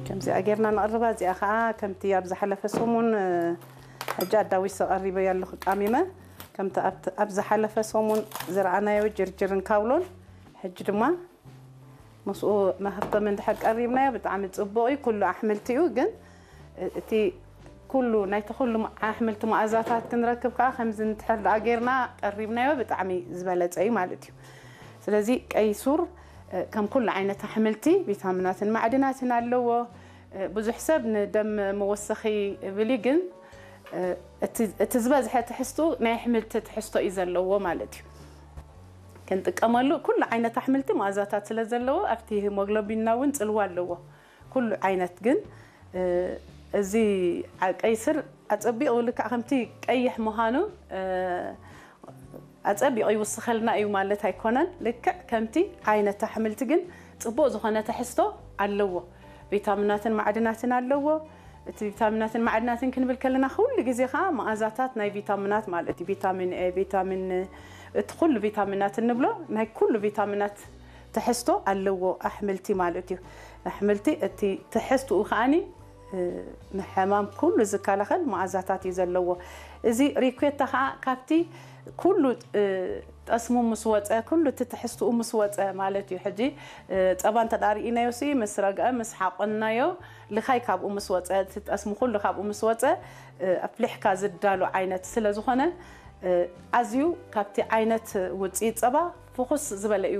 ከምዚኣ ጌርና ንቕርባ። እዚኣ ከዓ ከምቲ ኣብ ዝሓለፈ ሰሙን ሕጂ ኣዳዊሰ ቀሪበ ያለኹ ቃሚመ ከምቲ ኣብ ዝሓለፈ ሰሙን ዝረኣናዮ ጅርጅርን ካውሎን ሕጂ ድማ ምስኡ መኸተሚ እንድሕር ቀሪብናዮ ብጣዕሚ ፅቡቕ እዩ። ኩሉ ኣሕምልቲ እዩ፣ ግን እቲ ኩሉ ናይቲ ኩሉ ኣሕምልቲ መኣዛታት ክንረክብ ከዓ ከምዚ እንድሕር ደኣ ጌርና ቀሪብናዮ ብጣዕሚ ዝበለፀ እዩ ማለት እዩ። ስለዚ ቀይ ሱር ከም ኩሉ ዓይነት ኣሕምልቲ ቪታሚናትን ማዕድናትን ኣለዎ። ብዙሕ ሰብ ንደም መወሰኺ ይብል እዩ፣ ግን እቲ ዝበዝሐ ትሕዝቱ ናይ ኣሕምልቲ ትሕዝቶ እዩ ዘለዎ ማለት እዩ። ክንጥቀመሉ ኩሉ ዓይነት ኣሕምልቲ መኣዛታት ስለ ዘለዎ ኣብቲ ሂሞግሎቢንና እውን ፅልዋ ኣለዎ። ኩሉ ዓይነት ግን እዚ ቀይ ስር ኣፀቢቑ ልክዕ ከምቲ ቀይሕ ምዃኑ ኣፀቢቑ ይውስኸልና እዩ ማለት ኣይኮነን። ልክዕ ከምቲ ዓይነት ኣሕምልቲ ግን ፅቡቕ ዝኾነ ትሕዝቶ ኣለዎ። ቪታሚናትን ማዕድናትን ኣለዎ። እቲ ቪታሚናትን ማዕድናትን ክንብል ከለና ኩሉ ግዜ ከዓ መኣዛታት ናይ ቪታሚናት ማለት እዩ። ቪታሚን ኤ፣ ቪታሚን፣ እቲ ኩሉ ቪታሚናት እንብሎ ናይ ኩሉ ቪታሚናት ትሕዝቶ ኣለዎ ኣሕምልቲ ማለት እዩ። ኣሕምልቲ እቲ ትሕዝትኡ ከዓኒ ንሕማም ኩሉ ዝከላኸል መኣዛታት እዩ ዘለዎ። እዚ ሪኮታ ከዓ ካብቲ ኩሉ ጠስሙ ምስ ወፀ፣ ኩሉ እቲ ትሕዝትኡ ምስ ወፀ ማለት እዩ። ሕጂ ፀባ እንተ ደኣ ርኢናዮ ሲ ምስ ረግአ ምስ ሓቆንናዮ፣ ልኻይ ካብኡ ምስ ወፀ፣ እቲ ጠስሙ ኩሉ ካብኡ ምስ ወፀ ኣፍሊሕካ ዝዳሎ ዓይነት ስለ ዝኾነ ኣዝዩ ካብቲ ዓይነት ውፅኢት ፀባ ፍኹስ ዝበለ እዩ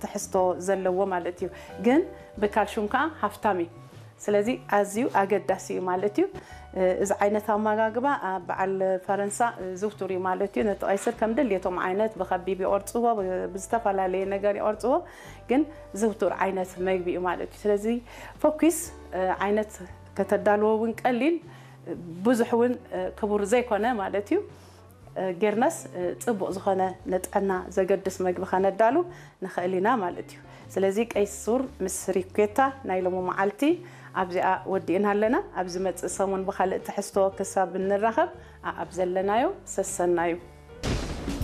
ትሕዝቶ ዘለዎ ማለት እዩ። ግን ብካልሹም ከዓ ሃፍታም እዩ። ስለዚ ኣዝዩ ኣገዳሲ እዩ ማለት እዩ። እዚ ዓይነት ኣመጋግባ ኣብ በዓል ፈረንሳ ዝውቱር እዩ ማለት እዩ። ነቲ ቀይስር ከም ድልየቶም ዓይነት ብኸቢብ ይቆርፅዎ፣ ብዝተፈላለየ ነገር ይቆርፅዎ፣ ግን ዝውቱር ዓይነት መግቢ እዩ ማለት እዩ። ስለዚ ፈኩስ ዓይነት ከተዳልዎ እውን ቀሊል ብዙሕ እውን ክቡር ዘይኮነ ማለት እዩ። ጌርናስ ፅቡቕ ዝኾነ ንጥዕና ዘገድስ መግቢ ከነዳሉ ንኽእል ኢና ማለት እዩ። ስለዚ ቀይ ሱር ምስ ሪኮታ ናይ ሎሚ መዓልቲ ኣብዚኣ ወዲእና ኣለና። ኣብ ዝመፅእ ሰሙን ብኻልእ ትሕዝቶ ክሳብ እንራኸብ ኣብ ዘለናዮ ሰሰናዩ።